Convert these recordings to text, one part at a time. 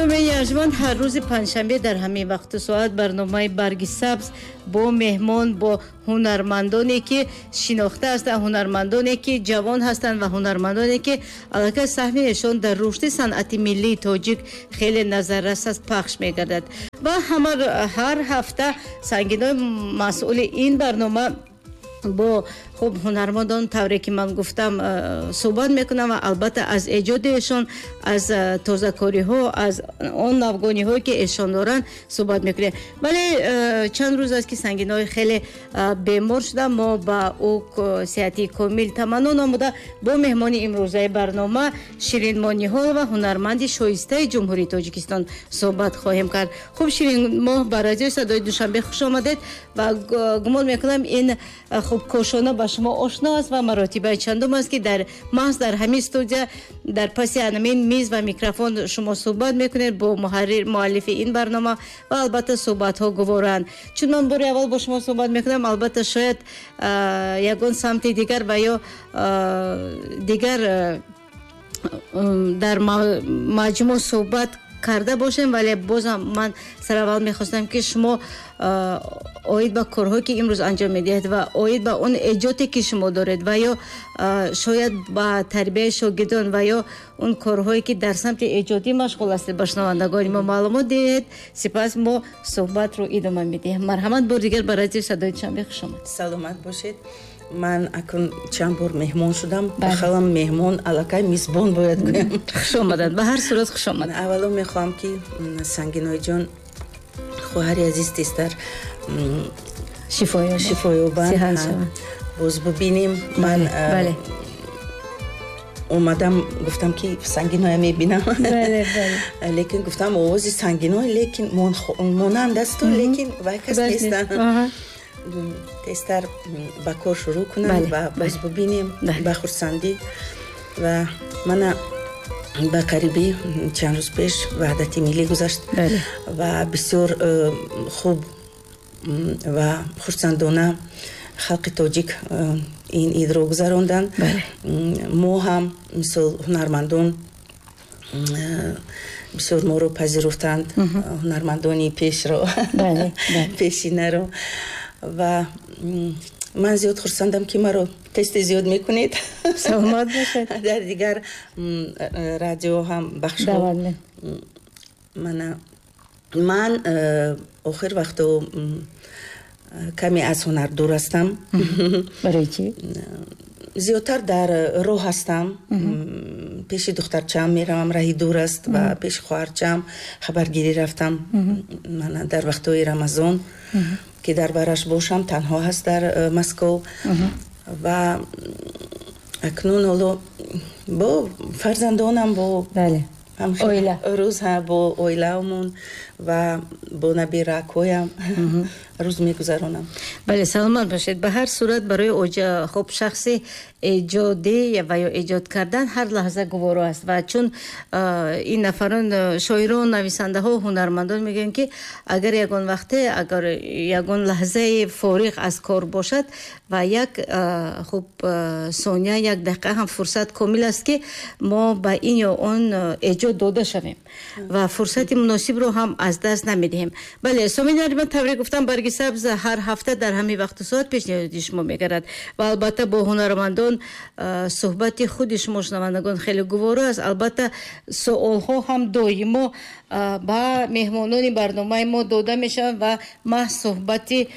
Сомеъи арҷманд, ҳар рӯзи панҷшанбе дар ҳамин вақту соат барномаи «Барги сабз» бо меҳмон, бо ҳунармандоне, ки шинохта ҳастанд, ҳунармандоне, ки ҷавон ҳастанд, ва ҳунармандоне, ки аллакай саҳми эшон дар рушди санъати миллии тоҷик хеле назаррас аст, пахш мегардад. Ва ҳар ҳафта Сангинои, масъули ин барнома, бо хуб ҳунармандон, тавре ки ман гуфтам, суҳбат мекунам ва албатта аз эҷоди эшон, аз тозакориҳо, аз он навгониҳое, ки эшон доранд, суҳбат мекунем. Вале чанд рӯз аст, ки Сангинои хеле бемор шуда. Мо ба ӯ сиҳатии комил таманно намуда, бо меҳмони имрӯзаи барнома, Ширинмоҳ Ниҳолова, ҳунарманди шоистаи Ҷумҳурии Тоҷикистон, суҳбат хоҳем кард. Хуб, Ширинмоҳ, ба радиои Садои Душанбе хуш омадед ва гумон мекунам, ин хуб кошона ба шумо ошно аст ва маротибаи чандум аст, ки дар маҳз дар ҳамин студия, дар паси ҳамин миз ва микрофон шумо суҳбат мекунед бо муҳаррир, муаллифи ин барнома, ва албатта суҳбатҳо гуворанд. Чун ман бори аввал бо шумо суҳбат мекунам, албатта шояд ягон самти дигар ва ё дигар дар маҷмӯъ суҳбат карда бошем, вале бозам ман сараввал мехостам, ки шумо оид ба корҳое, ки имрӯз анҷом медиҳед, ва оид ба он эҷоде, ки шумо доред, ва ё шояд ба тарбияи шогирдон, ва ё он корҳое, ки дар самти эҷодӣ машғул ҳастед, ба шунавандагони мо маълумот диҳед. Сипас мо суҳбатро идома медиҳем. Марҳамат, бори дигар ба радиои Садои Душанбе хуш омад. Саломат бошед. Ман акун чанд бор меҳмон шудам, ба хаёлам меҳмон аллакай мизбон бояд гӯям. Хуш омаданд, ба ҳар сурат хуш омад. Аввало мехоҳам, ки Сангиноиҷон, хоҳари азиз, тезтар шифоёбанд, боз бубинем. Ман омадам, гуфтам, ки Сангиноя мебинам, лекин гуфтам, овози Сангиной лекин монанд асту, лекин вай кас нестанд. Тезтар ба кор шурӯъ кунам ва боз бубинем ба хурсандӣ. Ва мана ба қарибӣ чанд рӯз пеш Ваҳдати миллӣ гузашт ва бисёр хуб ва хурсандона халқи тоҷик ин идро гузаронданд. Мо ҳам, мисол, ҳунармандон, бисёр моро пазируфтанд, ҳунармандони пешро, пешинаро. Ва ман зиёд хурсандам, ки маро тез тез зиёд мекунед. Саломат бошед. Дар дигар радио ҳам бахшҳо. Мана ман охир вақто каме аз ҳунар дур ҳастам. Барои чӣ? Зиёдтар дар роҳ ҳастам, пеши духтарчаам меравам, раҳи дур аст, ва пеши хоҳарчаам хабаргирӣ рафтам. Мана дар вақтҳои Рамазон, ки дар бараш бошам, танҳо ҳаст дар Москов. Ва акнун ҳоло бо фарзандонам, бо оила. Рӯз бо оилаамон ва бо набиракҳоям рӯз мегузаронам. Бале, саломат бошед. Ба ҳар сурат, барои хуб шахси эҷодӣ ва ё эҷод кардан ҳар лаҳза гуворо аст. Ва чун ин нафарон, шоирон, нависандаҳо, ҳунармандон мегӯянд, ки агар ягон вақте, агар ягон лаҳзаи фориғ аз кор бошад ва як хуб сония, як дақиқа ҳам фурсат комил аст, ки мо ба ин ё он эҷод дода шавем ва фурсати муносибро ҳам аз даст намедиҳем. Бале, сомеъини арҷманд, тавре гуфтам, «Барги сабз» ҳар ҳафта дар ҳамин вақту соат пешниҳоди шумо мегардад ва албатта бо ҳунармандон суҳбати худи шумо, шунавандагон, хеле гуворо аст. Албатта суолҳо ҳам доимо ба меҳмонони барномаи мо дода мешаванд ва маҳз суҳбати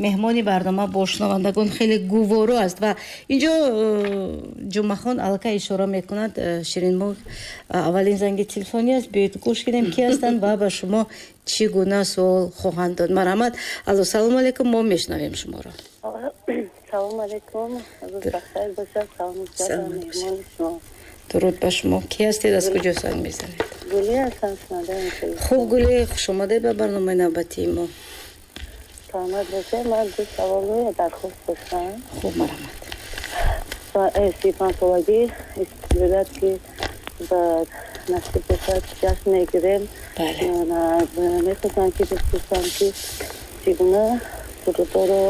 меҳмони барнома бо шунавандагон хеле гуворо аст. Ва инҷо Ҷумъахон аллакай ишора мекунад. Ширинмоҳ, аввалин занги телефонӣ аст. Биёед, гӯш кунем, ки ҳастанд ва ба шумо чӣ гуна суол хоҳанд дод. Марҳамат. Алло, салому алайкум, мо мешунавем шуморо. Салому алайкум, рӯз бахайр бошад. Салом меҳмони шумо. Дуруд ба шумо. Ки ҳастед, аз куҷо занг мезанед? Гулӣ ҳастам, шунавандаи. Хуб, Гулӣ, хуш омадед ба барномаи навбатии мо. Саломат бошед. Ман ду саволу дархост доштам. Хуб, марҳамат. 35-солагӣ истиқлолият, ки ба насиб бошад, ҷашн мегирем, мехостам, ки бипурсам, ки чӣ гуна сурудҳоро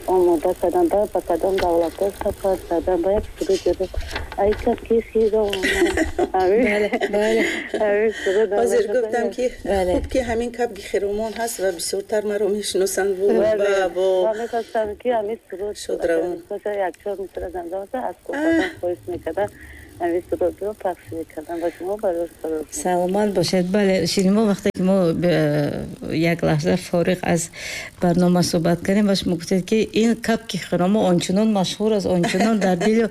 Омода кардам, ба кадом давлатҳо сафар кардам, ба як суруд, ай кабки хиромон. Ҳозир гуфтам, ки хуб, ки ҳамин кабки хиромон ҳаст ва бисёртар маро мешиносанд. Мехостам, ки ҳамин суруд шодравон якчор мисра замзама, аз хоҳиш мекардам, ҳамин сурудро пахш мекардам ба шумо. Барои Саломат бошед. Бале, Ширинмо, вақте ки мо як лаҳза фориғ аз барнома суҳбат кардем ва шумо гуфтед, ки ин кабки хиромо ончунон машҳур аст, ончунон дар дилу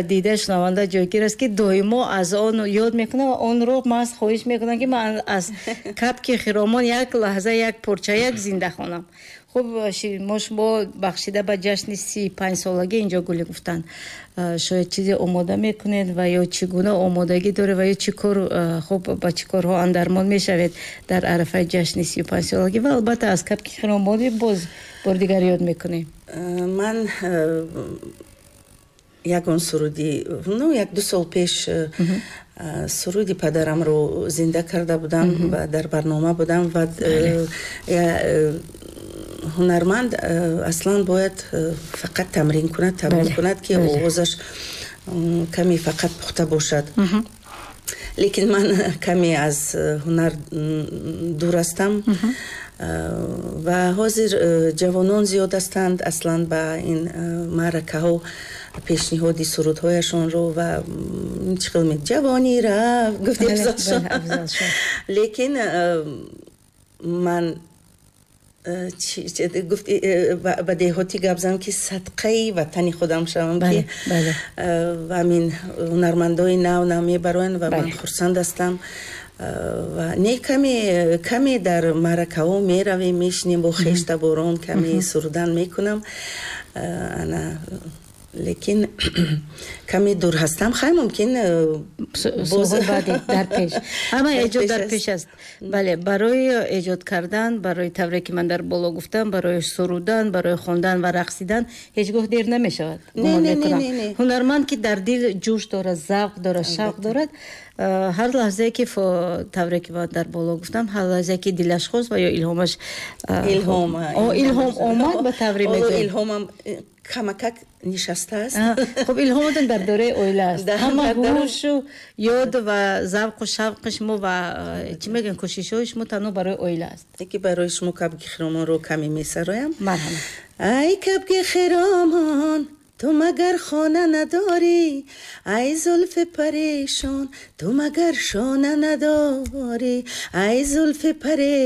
дидаи шунаванда ҷойгир аст, ки доимо аз он ёд мекунам ва онро маҳз хоҳиш мекунам, ки ман аз кабки хиромон як лаҳза, як порча, як зинда хонам. Хуб, мо шумо бахшида ба ҷашни 35-солагӣ инҷо гулӣ гуфтанд, шояд чизе омода мекунед ва ё чӣ гуна омодагӣ доред ва ё чӣ кор, хуб, ба чӣ корҳо андармон мешавед дар арафаи ҷашни 35-солагӣ? Ва албатта аз кабки хиромонӣ боз бори дигар ёд мекунем. Ман ягон суруди, ну, 1-2 сол пеш суруди падарамро зинда карда будам ва дар барнома будам. Ва ҳунарманд аслан бояд фақат тамрин кунад, тамрин кунад, ки овозаш каме фақат пухта бошад. Лекин ман каме аз ҳунар дур ҳастам ва ҳозир ҷавонон зиёд ҳастанд. Аслан ба ин маъракаҳо пешниҳоди сурудҳояшонро ва чӣ хел ҷавонӣ рафт, гуфти, лекин ман гуфти, ба деҳотӣ гап занам, ки садқаи ватани худам шавам, ки ҳамин ҳунармандои нав нав мебароянд ва ман хурсанд ҳастам. Ва не, каме каме дар маъракаҳо меравем, мешинем бо хештаборон, каме сурудан мекунам ана, лекин каме дур ҳастам. Хай, мумкин. Баъди дар пеш ҳама эҷод дар пеш аст. Бале, барои эҷод кардан, барои тавре ки ман дар боло гуфтам, барои сурудан, барои хондан ва рақсидан ҳеҷ гоҳ дер намешавад. Ҳунарманд, ки дар дил ҷӯш дорад, завқ дорад, шавқ дорад, ҳар лаҳзае ки, тавре ки ман дар боло гуфтам, ҳар лаҳзае ки дилаш хост ва ё илҳомаш илҳом омад, ба тавре мегӯям, илҳомам камакак нишастааст. Хуб, илҳомотон дар доираи оила аст. Ҳама ҳушу ёд ва завқу шавқи шумо ва, чӣ мегӯям, кӯшишҳои шумо танҳо барои оила аст. Ки барои шумо кабки хиромонро каме месароям. Марҳамат. Ай кабки хиромон, ту магар хона надорӣ? Ай зулфи парешон, ту магар шона надорӣ? Ай зулфи паре